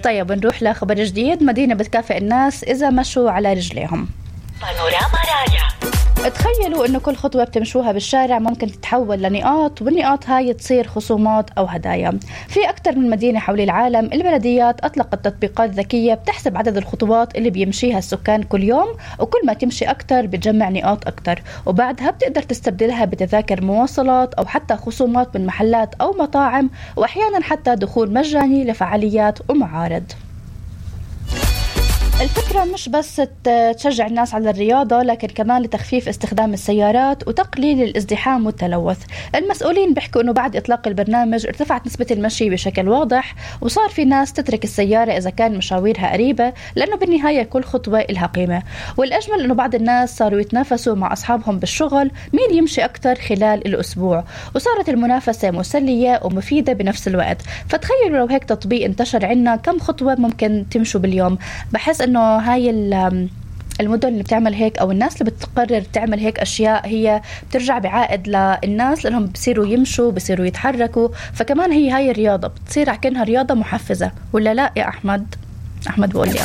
طيب نروح لخبر جديد. مدينة بتكافئ الناس إذا مشوا على رجليهم. بانوراما راجع. تخيلوا إنه كل خطوة بتمشوها بالشارع ممكن تتحول لنقاط، والنقاط هاي تصير خصومات أو هدايا. في أكثر من مدينة حول العالم البلديات أطلقت تطبيقات ذكية بتحسب عدد الخطوات اللي بيمشيها السكان كل يوم، وكل ما تمشي أكثر بتجمع نقاط أكثر، وبعدها بتقدر تستبدلها بتذاكر مواصلات أو حتى خصومات من محلات أو مطاعم، وأحيانا حتى دخول مجاني لفعاليات ومعارض. الفكرة مش بس تشجع الناس على الرياضة، لكن كمان لتخفيف استخدام السيارات وتقليل الازدحام والتلوث. المسؤولين بيحكوا أنه بعد إطلاق البرنامج ارتفعت نسبة المشي بشكل واضح، وصار في ناس تترك السيارة إذا كان مشاويرها قريبة، لأنه بالنهاية كل خطوة إلها قيمة. والأجمل أنه بعض الناس صاروا يتنافسوا مع أصحابهم بالشغل مين يمشي أكتر خلال الأسبوع، وصارت المنافسة مسلية ومفيدة بنفس الوقت. فتخيلوا لو هيك تطبيق انتشر عنا، كم خطوة ممكن تمشوا باليوم؟ بحس انه هاي المدن اللي بتعمل هيك او الناس اللي بتقرر تعمل هيك اشياء هي بترجع بعائد للناس، لانهم بصيروا يمشوا، بصيروا يتحركوا. فكمان هاي الرياضة بتصير كأنها رياضة محفزة، ولا لا يا احمد بقول لي